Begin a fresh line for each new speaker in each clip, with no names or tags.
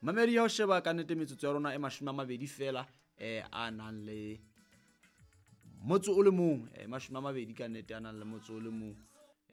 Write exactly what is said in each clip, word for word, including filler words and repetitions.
Mamedi, ha o sheba ka nnete metsotso ya rona e mashome a mabedi fela um a nang le motso o le mong, um mashome a mabedi ka nnete a nang le motso o le mong.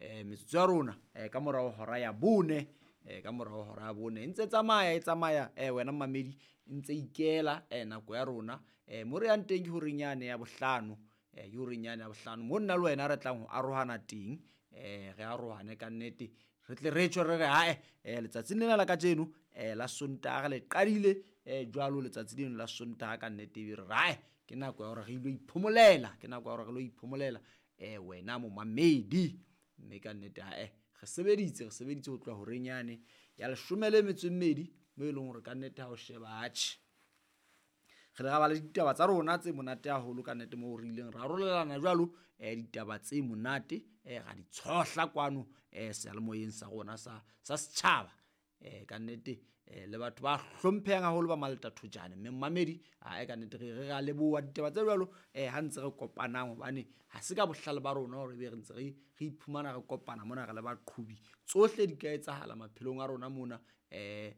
Um metsotso ya rona um ka morao hora ya bone, um ka morao hora ya bone e ntse tsamaya e tsamaya um wena mamedi e ntse ikela um nako ya rona. Um mo re yang teng ke horeng yane ya bohlano, um ke horeng yane ya bohlano mo nna le wena re tlang ho arohana teng. Um re arohane ka nnete, re tle re tjho re re hae um letsatsing lena la kajeno um la Sontaha re le qadile um jwalo letsatsi leno la Sontaha ka nnete, ebe re re hae ke nako ya hore re ilo iphomolela, ke nako ya hore re lo iphomolela um wena momamedi. Mme ka nnete hae re sebeditse, re sebeditse ho tloha horeng yane ya leshome le metso e mmedi, mo e leng hore ka nnete ha o sheba atjhe re le ra ba le ditaba tsa rona tse monate haholo ka nnete, moo re ileng ra arolelana jwalo um ditaba tse monate um ra di tshohla kwano um seyalemoyeng sa rona sa sa setjhaba. Um ka nnete um le batho ba hlomphehang haholo ba Malta Thojane. Mme mmamedi ae ka nnete re re ra leboha ditaba tse jwalo um ha ntse re kopanang, hobane ha se ka bohlale ba rona hore ebe re ntse re re iphumana re kopana mona re le baqhobi. Tsohle di ka etsahala maphelong a rona mona, um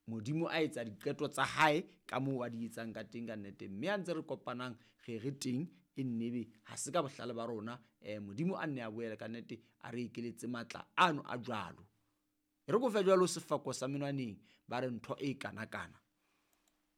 Modimo a etsa diqeto tsa hae ka moo a di etsang ka teng ka nnete. Mme ha ntse re kopanang re re teng e nnebe ha se ka bohlale ba rona. um Modimo a nne a boele ka nnete a re ekeletse matla ano a jwalo. E re ko fe jwalo sefako sa menwaneng, ba re ntho e kanakana.